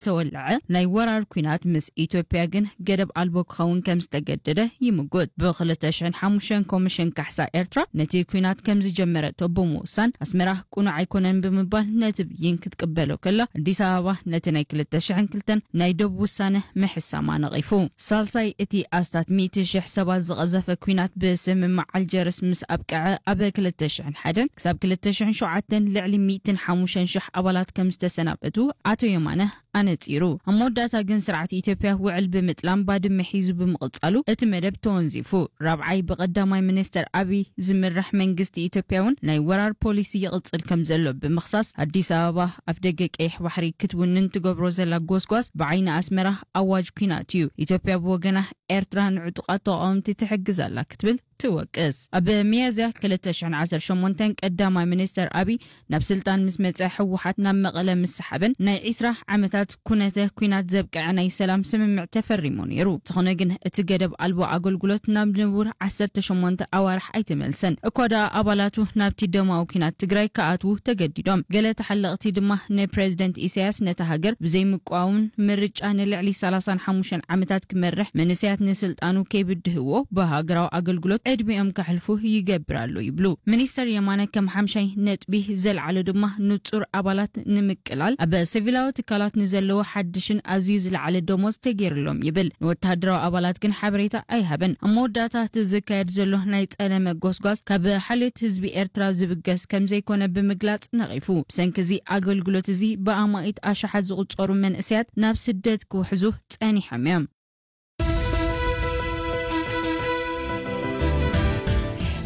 ዝተወለዐ ናይ ወራር ኲናት ምስ ኢትዮጵያ ግን ገደብ ኣልቦ ክኸውን ከም ዝተገደደ ይምጉት። ብ ክልተ ሽሕን ሓሙሽተን ኮሚሽን ካሕሳ ኤርትራ ነቲ ኲናት ከም ዝጀመረቶ ብምውሳን ኣስመራ ቅኑዕ ኣይኮነን ብምባል ነቲ ብይን ክትቅበሎ ከላ፣ ኣዲስ ኣበባ ነቲ ናይ ክልተ ሽሕን ክልተን ናይ ዶብ ውሳነ ምሕሳማ ነቒፉ። ሳልሳይ እቲ ኣስታት ሚእቲ ሽሕ ሰባት ዝቐዘፈ ኲናት ብስምምዕ ኣልጀርስ ምስ ኣብቅዐ፣ ኣብ ክልተ ሽሕን ሓደን ክሳብ ክልተ ሽሕን ሸውዓተን ልዕሊ ሚእትን ሓሙሽተን ሽሕ ኣባላት ከም ዝተሰናበቱ ኣቶ የማነ ኣነጺሩ። ኣብ መወዳእታ ግን ስርዓት ኢትዮጵያ ውዕል ብምጥላም ባድመ ሒዙ ብምቕጻሉ እቲ መደብ ተወንዚፉ። ራብዓይ ብቀዳማይ ሚኒስተር ኣቢይ ዝምራሕ መንግስቲ ኢትዮጵያ እውን ናይ ወራር ፖሊሲ ይቕጽል ከም ዘሎ ብምኽሳስ፣ ኣዲስ ኣበባ ኣፍ ደገ ቀይሕ ባሕሪ ክትውንን ትገብሮ ዘላ ጎስጓስ ብዓይኒ ኣስመራ ኣዋጅ ኲናት እዩ። ኢትዮጵያ ብወገና ኤርትራ ንዕጡቓት ተቓወምቲ ትሕግዝ ኣላ ክትብል ትወቅስ። ኣብ ሚያዝያ ክልተ ሽሕን ዓሰርተ ሸሞንተን ቀዳማይ ሚኒስተር ኣቢይ ናብ ስልጣን ምስ መጸ፣ ህወሓት ናብ መቐለ ምስ ሰሓበን ናይ ዒስራ ዓመታት ኩነተ ኲናት ዘብቅዐ ናይ ሰላም ስምምዕ ተፈሪሙ ነይሩ። እንተኾነ ግን እቲ ገደብ ኣልቦ ኣገልግሎት ናብ ንቡር ዓሰርተ ሸሞንተ ኣዋርሕ ኣይተመልሰን። እኳ ደኣ ኣባላቱ ናብቲ ደማዊ ኲናት ትግራይ ክኣትዉ ተገዲዶም። ገለ ተሓለቕቲ ድማ ንፕሬዝደንት ኢሳያስ ነታ ሃገር ብዘይምቋውን ምርጫ ንልዕሊ ሰላሳን ሓሙሽተን ዓመታት ክመርሕ መንእሰያት ንስልጣኑ ከይብድህዎ ብሃገራዊ ኣገልግሎት ዕድሚኦም ከሕልፉ ይገብር ኣሎ ይብሉ። ሚኒስተር የማነ ከም ሓምሻይ ነጥቢ ዘልዓሎ ድማ ንጹር ኣባላት ንምቅላል ኣብ ሲቪላዊ ትካላት ንዘለዎ ሓድሽን ኣዝዩ ዝለዓለ ደሞዝ ተገይርሎም ይብል። ንወተሃደራዊ ኣባላት ግን ሓበሬታ ኣይሃበን። ኣብ መወዳእታ እቲ ዝካየድ ዘሎ ናይ ጸለመ ጎስጓስ ካብ ሓልዮት ህዝቢ ኤርትራ ዝብገስ ከም ዘይኮነ ብምግላጽ ነቒፉ። ብሰንኪ እዚ ኣገልግሎት እዚ ብኣማኢት ኣሽሓት ዝቑጸሩ መንእሰያት ናብ ስደት ክውሕዙ ጸኒሖም እዮም።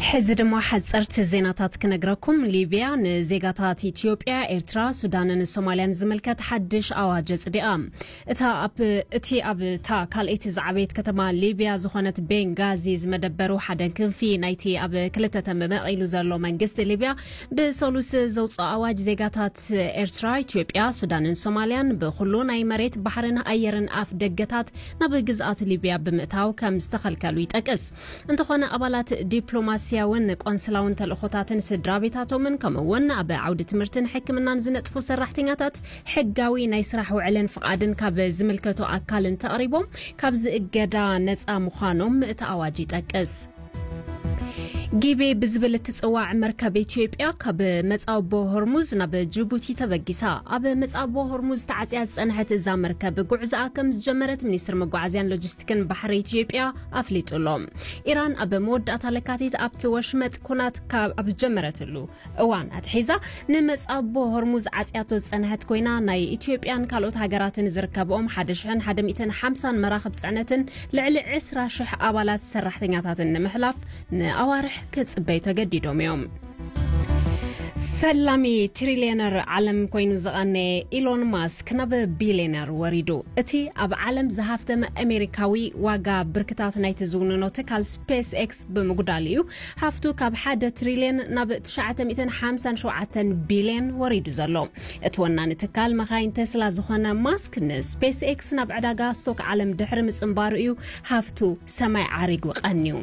ሕዚ ድማ ሓጸርቲ ዜናታት ክነግረኩም። ሊብያ ንዜጋታት ኢትዮጵያ፣ ኤርትራ፣ ሱዳንን ሶማልያን ዝምልከት ሓድሽ ኣዋጅ ኣጽዲቓ። እታ ኣብ፣ እቲ ኣብ እታ ካልኣይቲ ዝዓበየት ከተማ ሊብያ ዝኾነት ቤንጋዚ ዝመደበሩ ሓደ ክንፊ ናይቲ ኣብ ክልተ ተመቂሉ ዘሎ መንግስቲ ሊብያ ብሰሉስ ዘውፅኦ ኣዋጅ ዜጋታት ኤርትራ፣ ኢትዮጵያ፣ ሱዳንን ሶማልያን ብኩሉ ናይ መሬት፣ ባሕርን ኣየርን ኣፍ ደገታት ናብ ግዝኣት ሊብያ ብምእታው ከም ዝተኸልከሉ ይጠቅስ። እንተኾነ ኣባላት ዲፕሎማስያውን ቆንስላውን ተልእኾታትን ስድራ ቤታቶምን ከምኡ እውን ኣብ ዓውዲ ትምህርትን ሕክምናን ዝነጥፉ ሰራሕተኛታት ሕጋዊ ናይ ስራሕ ውዕልን ፍቓድን ካብ ዝምልከቶ ኣካል እንተቕሪቦም ካብዚ እገዳ ነፃ ምዃኖም እቲ ኣዋጅ ይጠቅስ። ጊቤ ብዝብል እትፅዋዕ መርከብ ኢትዮጵያ ካብ መፃቦ ሆርሙዝ ናብ ጅቡቲ ተበጊሳ። ኣብ መፃቦ ሆርሙዝ ተዓፅያ ዝፀንሐት እዛ መርከብ ጉዕዞኣ ከም ዝጀመረት ሚኒስትር መጓዓዝያን ሎጂስቲክን ባሕሪ ኢትዮጵያ ኣፍሊጡ ኣሎ። ኢራን ኣብ መወዳእታ ለካቲት ኣብቲ ወሽመጥ ኩናት ካብ ኣብ ዝጀመረትሉ እዋን ኣትሒዛ ንመጻቦ ሆርሙዝ ዓጽያቶ ዝጸንሐት ኮይና፣ ናይ ኢትዮጵያን ካልኦት ሃገራትን ዝርከብኦም ሓደ ሽሕን ሓደ ሚእትን ሓምሳን መራኽብ ጽዕነትን ልዕሊ ዕስራ ሽሕ ኣባላት ሰራሕተኛታትን ንምሕላፍ ንኣዋርሕ ክጽበዩ ተገዲዶም እዮም። ፈላሚ ትሪልዮነር ዓለም ኮይኑ ዝቐነየ ኢሎን ማስክ ናብ ቢልዮነር ወሪዱ። እቲ ኣብ ዓለም ዝሃፍተመ ኣሜሪካዊ ዋጋ ብርክታት ናይቲ ዝውንኖ ትካል ስፔስ ኤክስ ብምጉዳል እዩ። ሃፍቱ ካብ ሓደ ትሪልዮን ናብ ትሽዓተ ሚእትን ሓምሳን ሸውዓተን ቢልዮን ወሪዱ ዘሎ። እቲ ወናኒ ትካል መኻይን ቴስላ ዝኾነ ማስክ ንስፔስ ኤክስ ናብ ዕዳጋ ስቶክ ዓለም ድሕሪ ምጽንባሩ እዩ ሃፍቱ ሰማይ ዓሪጉ ቀንዩ።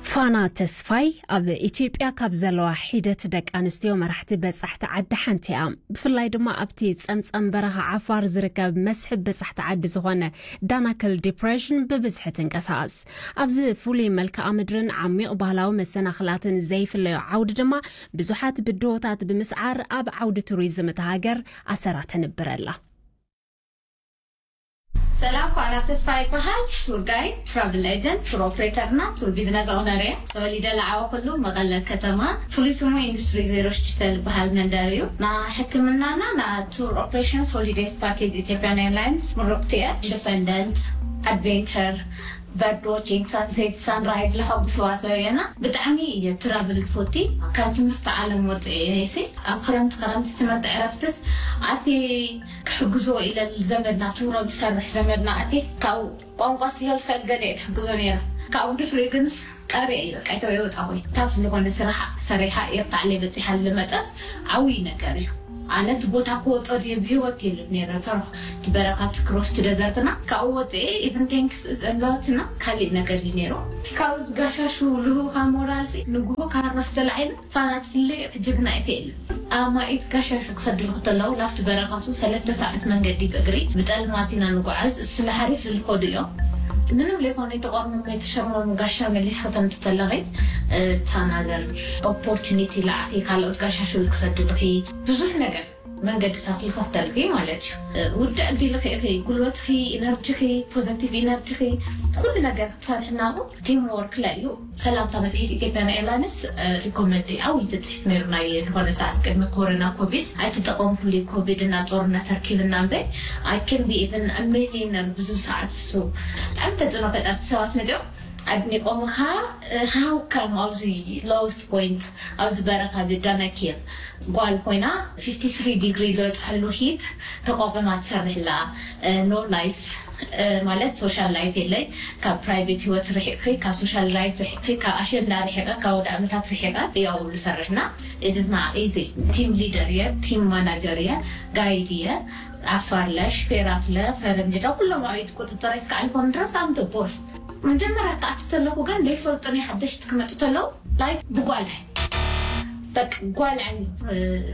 ፋና ተስፋይ ኣብ ኢትዮጵያ ካብ ዘለዋ ሒደት ደቂ ኣንስትዮ መራሕቲ በጻሕቲ ዓዲ ሓንቲ እያ። ብፍላይ ድማ ኣብቲ ጸምጸም በረኻ ዓፋር ዝርከብ መስሕብ በጻሕቲ ዓዲ ዝኾነ ዳናክል ዲፕሬሽን ብብዝሒ ትንቀሳቐስ። ኣብዚ ፍሉይ መልክዓ ምድርን ዓሚቕ ባህላዊ መሰናኽላትን ዘይፍለዮ ዓውዲ ድማ ብዙሓት ብድሆታት ብምስዓር ኣብ ዓውዲ ቱሪዝም እታ ሃገር ኣሰራ ተንብር ኣላ። ሰላም፣ ፋና ተስፋ ይበሃል። ቱር ጋይድ፣ ትራቭል ኤጀንት፣ ቱር ኦፕሬተር እና ቱር ቢዝነስ ኦነር እየ። ተወሊደ ለዓበኩሉ መቐለ ከተማ። ፍሉይ ስሙ ኢንዱስትሪ ዜሮ ሽዱሽተ ዝበሃል መንደር እዩ። ና ሕክምናና ና ቱር ኦፕሬሽንስ ሆሊዴይስ ፓኬጅ ኢትዮጵያን ኤርላይንስ ምሩቕቲ እየ። ኢንዲፐንደንት፣ ኣድቬንቸር፣ በርድ ዋቺንግ፣ ሳንሴት፣ ሳንራይዝ ለሐጉስዋ ሰብ እየና። ብጣዕሚ እየ ትራቭል ፎቲ። ካብ ትምህርቲ ዓለም ወፅኤ እየ ሲ ኣብ ክረምቲ ክረምቲ ትምህርቲ ዕረፍትስ ኣቲ ክሕግዞ ኢለ ዘመድና ትውረብ ዝሰርሕ ዘመድና ኣቴስ ካብ ቋንቋ ስለልከል ገለ እየ ክሕግዞ ነይረ። ካብኡ ድሕሪኡ ግንስ ቀሪአ እዩ በቃ ይተው የወጣ ወይ ታፍ ዝኾነ ስራሕ ሰሪሓ ኤርታዕለ በፂሓ ልመፀት ዓብይ ነገር እዩ። ኣነ እቲ ቦታ ክወጦ ድየ ብህይወት የሉ ነረ ፈርሑ። እቲ በረኻ እቲ ክሮስ እቲ ደዘርትና ካብኡ ወፅኤ ኢቨን ቴንክስ እለዋትና ካሊእ ነገር እዩ ነይሩ። ካብዚ ጋሻሹ ልህኻ ሞራልሲ ንግሆ ካራስ ተላዒሉ ፋና ትፍልይ እቲ ጅግና ኢፌል ኣማኢት ጋሻሹ ክሰድሩ ክተለዉ ናብቲ በረኻሱ ሰለስተ ሰዓት መንገዲ ብእግሪ ብጠልማት ኢና ንጓዓዝ። እሱ ንሓሪፍ ልልኮዱ እዮም። ምንም ለይኮነ የተቆርመሙ የተሸርመሙ ጋሻ መሊስ ከተምቲ ተለኺ ታናዘር ኦፖርቹኒቲ ለዓኺ ካልኦት ጋሻሹ ክሰድሩኺ ብዙሕ ነገር መንገድታት ይኸፍተልኪ ማለት እዩ። ውድእ እንዲልኺ ኢኺ ጉልበትኺ፣ ኢነርጂኺ፣ ፖዘቲቭ ኢነርጂኺ ኩሉ ነገር ክትሰርሒ ናብኡ ቲም ወርክ ላይ እዩ። ሰላምታ መጽሔት ኢትዮጵያን ኤርላይንስ ሪኮመንድ ዓብዪ ትጽሕፍ ነይሩ ናይ ዝኾነ ሰዓት ቅድሚ ኮሮና ኮቪድ ኣይተጠቐምኩሉ ኮቪድ እና ጦርነት ተርኪብና እምበር I can be even a millionaire ብዙ ሰዓት እሱ ብጣዕሚ ተጽዕኖ ፈጣርቲ ሰባት መጽኦም ኣድኒቆምኻ ሃውካም ኣብዚ ሎውስት ፖይንት ኣብዚ በረኻ እዚ ዳናኪር ጓል ኮይና ፊፍቲ ስሪ ዲግሪ ዝበፅሐሉ ሂት ተቋቁማ ትሰርሕ ኣላ። ኖ ላይፍ ማለት ሶሻል ላይፍ የለይ። ካብ ፕራይቬት ህይወት ርሒቕኺ፣ ካብ ሶሻል ላይፍ ርሒቕኺ፣ ካብ ኣሸንዳ ርሒቐ፣ ካብ ወደ ዓመታት ርሒቐ እያ ውሉ ሰርሕና። ኢትዝና ኢዚ ቲም ሊደር እየ፣ ቲም ማናጀር እየ፣ ጋይድ እየ። ኣፋርለ ሽፌራትለ ፈረንጅዳ ኩሎም ኣብ ኢድ ቁፅፅር እስካዕ ልኾኑ ድረስ ኣምተ ቦርስ መጀመርያ ክኣቲ ተለኹ ግን ዘይፈልጡኒ ሓደሽቲ ክመጡ ተለዉ ላይክ ብጓል ዓይኒ በቃ ጓል ዓይኒ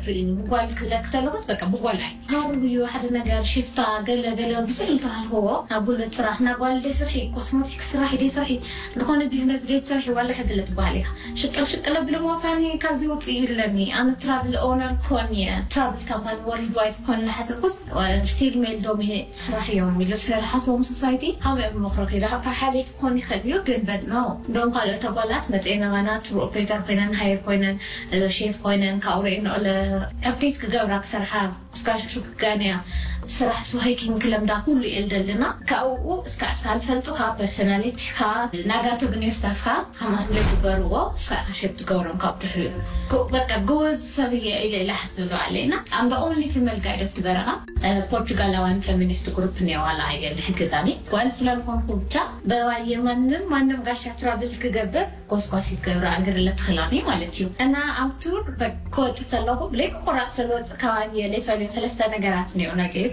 ርእኒ ብጓል ክለክ ተለኹስ በቃ ብጓል ዓይኒ ሃሩ እዩ ሓደ ነገር ሽፍታ ገለ ገለ ብዙሕ ዝተሃልዎ ናብ ጉልበት ስራሕ ናብ ጓል ደይ ስርሒ ኮስሞቲክስ ስራሕ ደይ ስርሒ ዝኾነ ቢዝነስ ደይ ስርሒ ዋላ ሕዚ ለትበሃል ኢኻ ሽቅል ሽቅል ኣብሎ ሞፋኒ ካብዚ ውፅእ ይብለኒ ኣነ ትራቭል ኦነር ክኾን እየ ትራቭል ካምፓኒ ወርልድ ዋይድ ክኾን ለሓሰብኩስ ስቲል ሜል ዶሚኔት ስራሕ እዮም ኢሉ ስለ ዝሓሰቦም ሶሳይቲ ሃበ ምኽሪ ኺዳ ካብ ሓሌት ክኾን ይኽእል እዩ ግን በድ ነው እንደውም ካልኦት ኣጓላት መፅኤን ኣባና ትሩ ኦፕሬተር ኮይነን ሃየር ኮይነን ሼፍ ኮይነን ካብኡ ርእየን ኦለ ኣፕዴት ክገብራ ክሰርሓ እስካሽክሹ ክጋንያ ስራሕ ሶሃይኪን ክለምዳ ኩሉ እየ ደልና ካብኡ እስካ እስካ ዝፈልጡካ ፐርሶናሊቲካ ናጋቶ ግንዮ ስታፍካ ሃማት ዝግበርዎ እስካ ሸፕ ትገብሮም ካብ ድሕሪኡ በቃ ጎበዝ ሰብ እየ ኢለ ኢለ ሓስብ ኣለና ኣም ኦንሊ ፊመል ጋይድ ኦፍ ትበረኻ ፖርቹጋላውያን ፌሚኒስት ግሩፕ እኒኦ ዋላ እየ ዝሕግዛኒ ጓል ስለ ዝኾንኩ ብቻ በባየ ማንም ማንም ጋሻ ትራብል ክገብር ጎስጓስ ይገብር ኣገር ለትኽላኒ ማለት እዩ እና ኣብቱ ክወፅእ ከለኹ ብለይ ምቁራፅ ስለዝወፅእ ከባቢ የለይ ፈልዮ ሰለስተ ነገራት እኒኦ ነጌት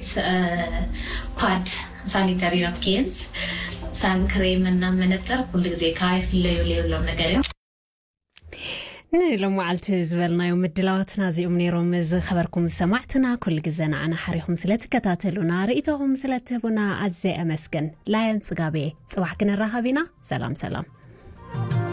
ፓድ ሳኒተሪ ናፕኪንስ ሳንክሬም እና መነፅር ኩሉ ግዜ ከይፍለዩ ዘይብሎም ነገር እዮም ንሎማዓልቲ ዝበልናዮ ምድላዋትና እዚኦም ነይሮም ዝኸበርኩም ሰማዕትና ኩሉ ግዜ ንዓና ሓሪኹም ስለትከታተሉና ርእይቶኹም ስለትህቡና ኣዝየ ኣመስግን ላየን ፅጋቤ ፅባሕ ክንራኸብ ኢና ሰላም ሰላም